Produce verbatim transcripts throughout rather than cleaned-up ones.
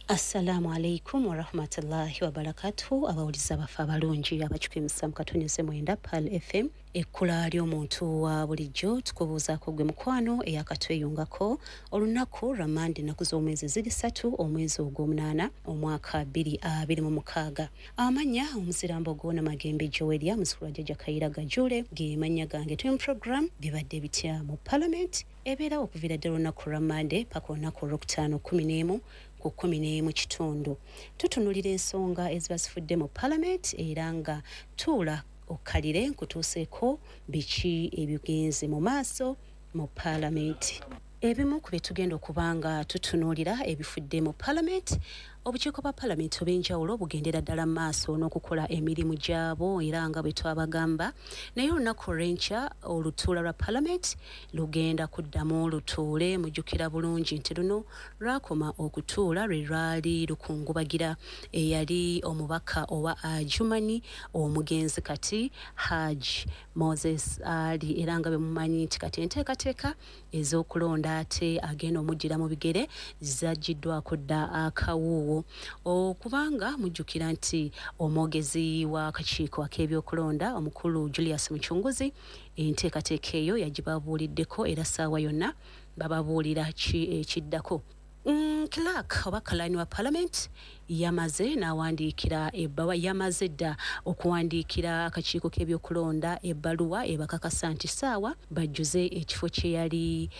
Assalamu alaikum warahmatullahi wabarakatuhu. Abawuliza bafe abalungi abakipimisa mu katonnyeze mwenda Pearl F M, ekkula ly'omuntu wa bulijjo, tukubuuzaako gwe mukwano eyakatweyungako olunaku lwa Mande, ennaku z'omwezi ziri ssatu, omwezi ogw'omunaana, omwaka bbiri abiri mu mukaaga. Amannya omuzirambo gwona Magembe Joweria, muzukulu wa Jjajja Kayira Gajule, ge mannya gange. Tuli mu program Bibadde Bitya mu Parliament, ebeerawo okuviira ddala olunaku lwa Mande paka olunaku olwokutaano kumi n'emu ku kumi n'emu kitundu. Tutunulira ensonga eziba zifudde mu Parliament, era nga tuula okkalire nkutuuseeko biki ebigenze mu maaso mu Paalamenti. Ebimu ku bye tugenda okuba nga tutunuulira ebifudde mu Paalamenti: obukiiko bwa Paalamenti obw'enjawulo bugendera ddala mu maaso n'okukola emirimu gyabo, era nga bwe twabagamba, naye olunaku olw'enkya olutuula lwa Paalamenti lugenda kuddamu lutuule. Mujjukira bulungi nti luno lwakoma okutuula lwe lwali lukungubagira eyali omubaka owa Adjumani, omugenzi kati Haj Moses Ali, era nga bwe mumanyi nti kati enteekateeka ez'okulonda ate agenda omuddira mu bigere zaggiddwako dda akawuuwo, okubanga mujjukira nti omwogezi w'akakiiko ak'ebyokulonda, omukulu Julius Mucunguzi, enteekateeka eyo yagibabuuliddeko, era ssaawa yonna bababuulira ki ekiddako. Mm, clerk oba kalani wa Parliament yamaze n'awandiikira ebbaluwa, yamaze dda okuwandiikira akakiiko k'ebyokulonda ebbaluwa ebakakasa nti ssaawa bajjuze ekifo kye yali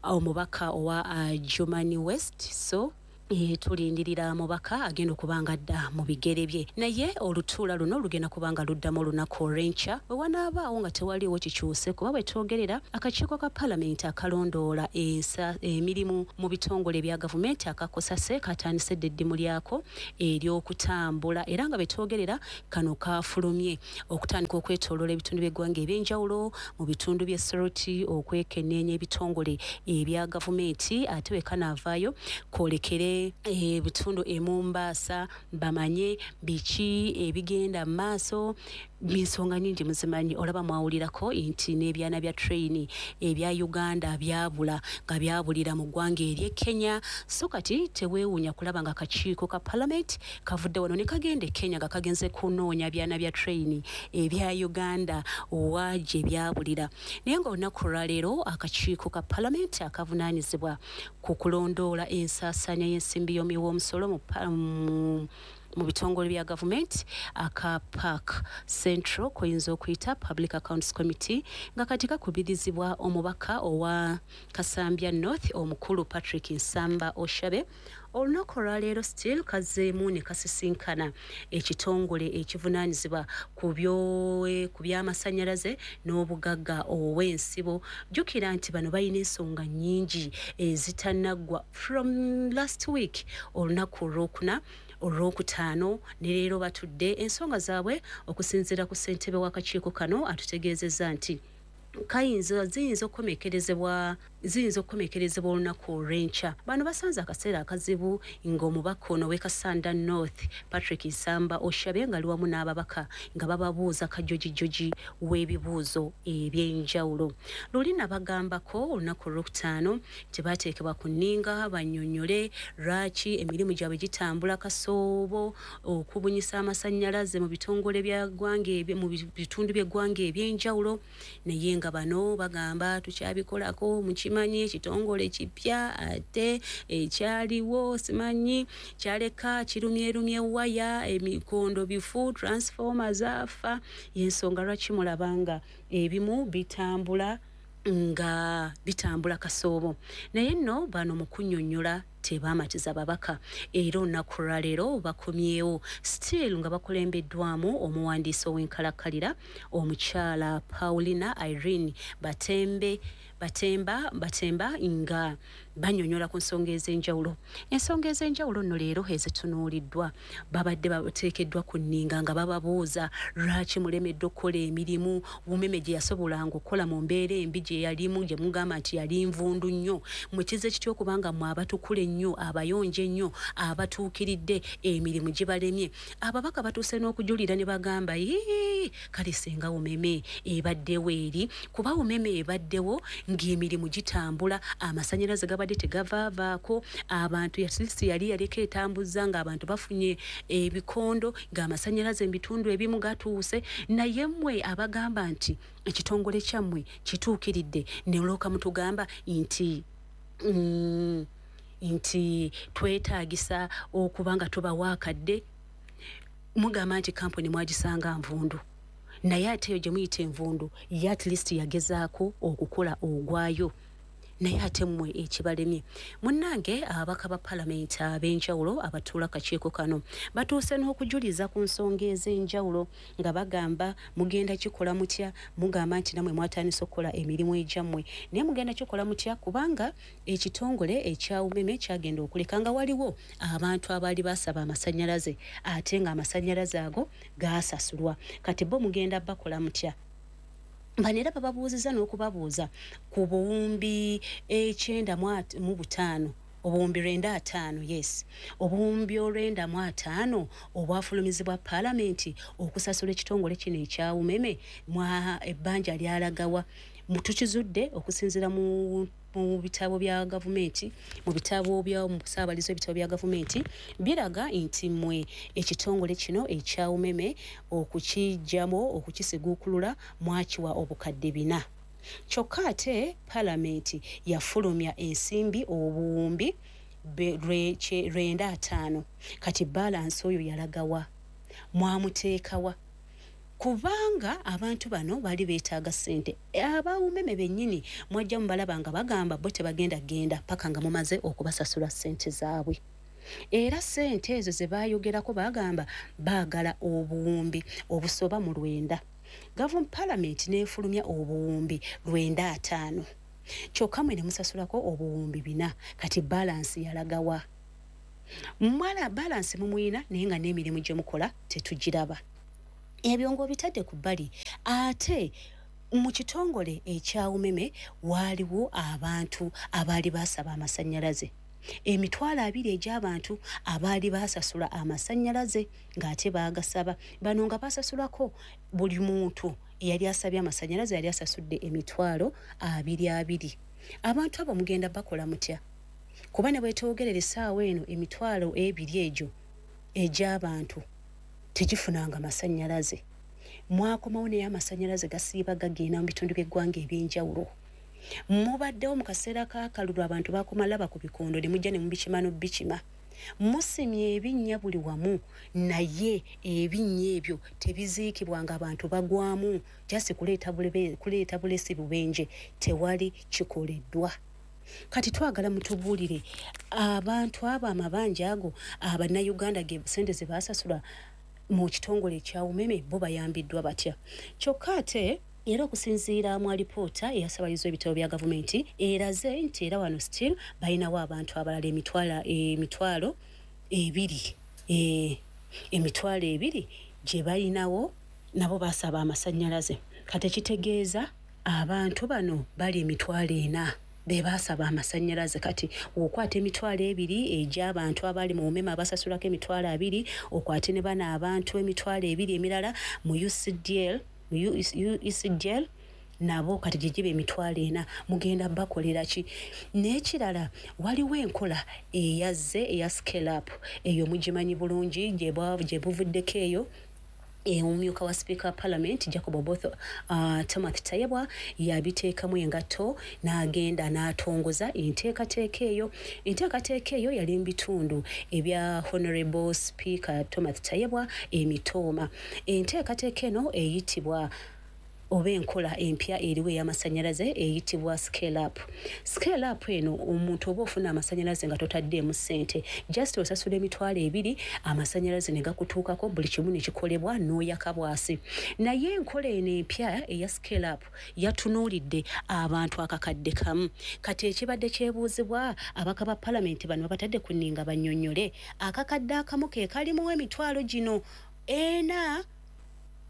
omubaka owa Adjumani West. So e, tulindirira mubaka agenda okuba nga adda mu bigere bye, naye olutuula luno lugenda kuba nga luddamu olunaku olw'enkya bwe wanaabaawo nga tewaliiwo kikyuse, kuba bwe twogerera akakiiko ka Paalamenti akalondoola ensa emirimu mu bitongole ebya gavumenti aka COSASE katandise dda eddimu lyako ery'okutambula, era nga bwe twogerera kano kafulumye okutandika okwetooloola ebitundu by'eggwanga ebyenjawulo, mu bitundu by'e Soroti, okwekenneenya ebitongole ebya gavumenti, ate bwe kanaavaayo kwolekere ebitundu e Mumbaasa bamanye biki ebigenda mu maaso. Ensonga nyingi muzimanyi, olaba mwawulirako nti n'ebyana bya train ebya Uganda byabula, nga byabulira mu ggwanga ery'e Kenya. So kati teweewuunya kulaba nga akakiiko ka Parliament kavudde wano ne kagenda e Kenya nga kagenze kunoonya byana bya train ebya Uganda wa gye byabulira. Naye nga olunaku olwaleero akakiiko ka Parliament akavunaanyizibwa ku kulondoola ensaasaanya y'ensimbi y'omuwi w'omusolo mu mu mu bitongole bya gavumenti aka PAC Central, koyinza okuyita Public Accounts Committee, nga kati kakubirizibwa omubaka owa Kasambya North, omukulu Patrick Nsamba Oshabe, olunaku olwaleero still kazzeemu ne kasisinkana ekitongole ekivunaanyizibwa ku by'amasannyalaze n'obugagga obw'ensibo. Jjukira nti bano balina ensonga nnyingi ezitanaggwa from last week, olunaku olwokuna, olwokutaano, ne leero batudde ensonga zaabwe. Okusinziira ku ssentebe w'akakiiko kano, atutegeezezza nti kayinza ziyinza okukomekerezebwa ziyinza okukomekerezebwa olunaku olw'enkya. Bano basanze akaseera akazibu ng'omubaka ono w'e Kasanda North, Patrick Nsamba Oshabe, nga ali wamu n'ababaka nga bababuuza kajojijoji w'ebibuuzo ebyenjawulo. Luli nabagambako olunaku olwokutaano tebateekebwa ku nninga bannyonnyole lwaki emirimu gyabwe gitambula kasoobo okubunyisa amasannyalaze mu bitongole bya ggwanga, mu bitundu by'eggwanga ebyenjawulo, naye nga bano bagamba tukyabikolako. Mukimanyi ekitongole kipya, ate ekyaliwo simanyi kyaleka kirumyerumye waya, emikondo bifu, transformer zaafa, yensonga lwaki mulabanga ebimu bitambula nga bitambula kasoobo. Naye nno bano mu kunnyonnyola tebamatiza babaka, era olunaku lwaleero bakomyewo still nga bakulembeddwamu omuwandiisi ow'enkalakkalira, omukyala Paulina Irene Batembe Batemba Batemba, nga bannyonnyola ku nsonga ez'enjawulo. Ensonga ez'enjawulo nno leero ezitunuuliddwa, babadde bateekeddwa ku nninga nga bababuuza lwaki mulemeddwa okukola emirimu Umeme gye yasobolanga okukola mu mbeera embi gye yalimu, gye mugamba nti yali nvundu nnyo. Mukize kitya okubanga mmwe abatukula ennyo, abayonjo ennyo, abatuukiridde, emirimu gibalemye? Ababaka batuuse n'okujulira ne bagamba, "Ii, kale singa Umeme ebaddewo eri, kuba Umeme ebaddewo ng'emirimu gitambula, amasannyalaze gabadde gabadde tegavaavaako, abantu at least yali yaleka etambuza ng'abantu bafunye ebikondo, ng'amasannyalaze mu bitundu ebimu gatuuse. Naye mmwe abagamba nti ekitongole kyammwe kituukiridde, ne mulooka mutugamba nti mm, nti twetaagisa okuba nga tubawa akadde. Mugamba nti kampuni mwagisanga nvundu, naye ate eyo gye muyita envundu ye at least yagezaako okukola ogwayo, naye ate mmwe ekibalemye. Munnange, ababaka ba palamenti ab'enjawulo abatuula kakiiko kano batuuse n'okujuliza ku nsonga ez'enjawulo nga bagamba, mugenda kikola mutya? Mugamba nti nammwe mwatandise okukola emirimu egyammwe, naye mugenda kikola mutya? Kubanga ekitongole ekya Umeme kyagenda okuleka nga waliwo abantu abaali basaba amasannyalaze ate ng'amasannyalaze ago gaasasulwa. Kati bo mugenda bakola mutya? Bano era bababuuzizza n'okubabuuza ku buwumbi ekyenda mu butaano, obuwumbi lwenda ataano, yes, obuwumbi olwenda mu ataano obwafulumizibwa paalamenti okusasula ekitongole kino ekya Umeme, mwa ebbanja lyalagawa? Tukizudde okusinziira mu mu bitabo bya gavumenti, mu bitabo bya mu ssaabalizo, ebitabo bya gavumenti biraga nti mmwe ekitongole kino ekya Umeme okukiggyamu, okukisiguukulula, mwakiwa obukadde bina, kyokka ate paalamenti yafulumya ensimbi obuwumbi lwenda ataano. Kati balance oyo yalagawa? Mwamuteekawa? Kubanga abantu bano bali beetaaga ssente. Aba Umeme bennyini mwajja mubalaba nga bagamba bo tebagenda genda paka nga mumaze okubasasula ssente zaabwe. Era ssente ezo ze baayogerako bagamba baagala obuwumbi obusoba mu lwenda, gavumenti palamenti n'efulumya obuwumbi lwenda ataano, kyokka mwe ne musasulako obuwumbi bina. Kati balance yalagawa? Mwala balance mumuyina, naye nga n'emirimu gye mukola tetugiraba. Ebyo ng'obitadde ku bbali, ate mu kitongole ekya Umeme waaliwo abantu abaali basaba amasannyalaze, emitwalo abiri egy'abantu abaali basasula amasannyalaze ng'ate baagasaba. Bano nga basasulako, buli muntu eyali asabye amasannyalaze yali asasudde emitwalo abiri abiri. Abantu abo mugenda bakola mutya? Kuba ne bwetwogerera essaawa eno, emitwalo ebiri egyo egy'abantu tegifunanga masannyalaze. Mwakomawo naye amasannyalaze gasiiba gagenda mu bitundu by'eggwanga ebyenjawulo. Mubaddewo mu kaseera k'akalulu, abantu bakoma laba ku bikondo ne mujja ne mubikima n'obikima. Musimye ebinnya buli wamu, naye ebinnya ebyo tebiziikibwa nga abantu bagwamu, just kuleeta kuleeta bulesi bubenje, tewali kikoleddwa. Kati twagala mutubuulire, abantu abo amabanja ago abannayuganda ge ssente ze baasasula mu kitongole ekya Umeme, bo bayambiddwa batya? Kyokka ate era okusinziira mu alipoota eyasabalizwa ebitabo bya gavumenti eraze nti era wano still balinawo abantu abalala emitwalo emitwalo ebiri e, emitwalo ebiri gye balinawo, nabo basaba amasannyalaze. Kati ekitegeeza abantu bano bali emitwalo ena be baasaba amasannyalaze. Kati okwata emitwalo ebiri egy'abantu abali mu Umeme abasasulako emitwalo abiri, okwate ne bano abantu emitwalo ebiri emirala mu U C D L, mu U E C D L nabo, kati gye giba emitwalo ena. Mugenda bakolera ki? N'ekirala, waliwo enkola eyazze eya Scale Up, eyo mugimanyi bulungi, gye buvuddeko eyo omumyuka wa sipiika wa parliament Jacob Oboth uh, Timothy Tayebwa yabiteekamu engatto n'agenda n'atongoza enteekateeka eyo. Enteekateeka eyo yali mu bitundu ebya Honorable Speaker Timothy Tayebwa emitooma. Enteekateeka eno eyitibwa, oba enkola empya eriwo ey'amasannyalaze eyitibwa Scale Up. Scale Up eno, omuntu oba ofuna amasannyalaze nga totaddeemu ssente, just osasula emitwalo ebiri, amasannyalaze ne gakutuukako, buli kimu ne kikolebwa n'oyaka bwasi. Naye enkola eno empya eya Scale Up yatunuulidde abantu akakadde kamu. Kati ekibadde kyebuuzibwa, abaka ba palamenti bano babatadde ku nninga bannyonnyole, akakadde akamu ke kalimu emitwalo gino ena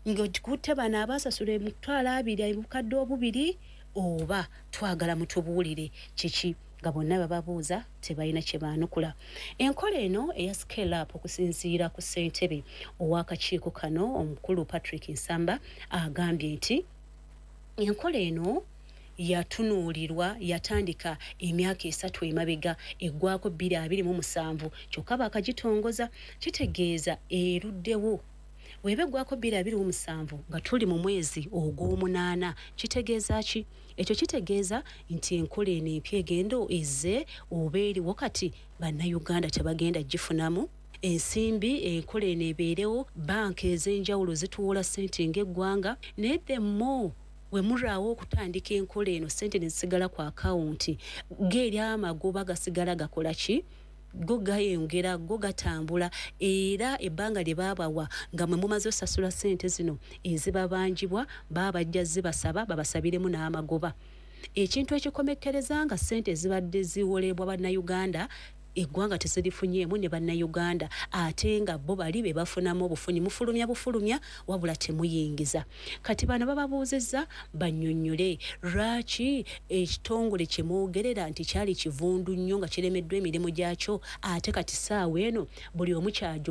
ng'ogikutte bano abaasasula emitwalo abiri obukadde obubiri, oba twagala mutubuulire kiki? Nga bonna bababuuza tebalina kye baanukula. Enkola eno eya Scale Up, okusinziira ku ssentebe ow'akakiiko kano omukulu Patrick Nsamba, agambye nti enkola eno Yatunuulirwa, yatandika emyaka esatu emabega, eggwako bbiri abiri mu musanvu, kyokka baakagitongoza. Kitegeeza eruddewo. Weba eggwako bbiri abiri mu musanvu nga tuli mu mwezi ogw'omunaana, kitegeeza ki ekyo? Kitegeeza nti enkola eno empya egenda ezze oba eriwo kati, Bannayuganda tebagenda gifunamu ensimbi. Enkola eno ebeerewo, banka ez'enjawulo zituwola ssente ng'eggwanga, naye the more we mulwawo okutandika enkola eno, ssente ne zisigala ku akawunti, geeri amagoba gasigala gakola ki? Go gayongera, go gatambula. Era ebbanga lye baabawa nga mwe mumaze osasula ssente zino ezibabanjibwa, baba bajja zibasaba babasabiremu n'amagoba, ekintu ekikomekkereza nga ssente ezibadde ziwolebwa Bannayuganda, eggwanga tezirifunyeemu ne Bannayuganda, ate nga bo bali be bafunamu obufunyi. Mufulumya bufulumya, wabula temuyingiza. Kati bano bababuuzizza bannyonnyole lwaki ekitongole kye mwogerera nti kyali kivundu nnyo nga kiremeddwa emirimu gyakyo, ate kati saawa eno buli omu kyajo.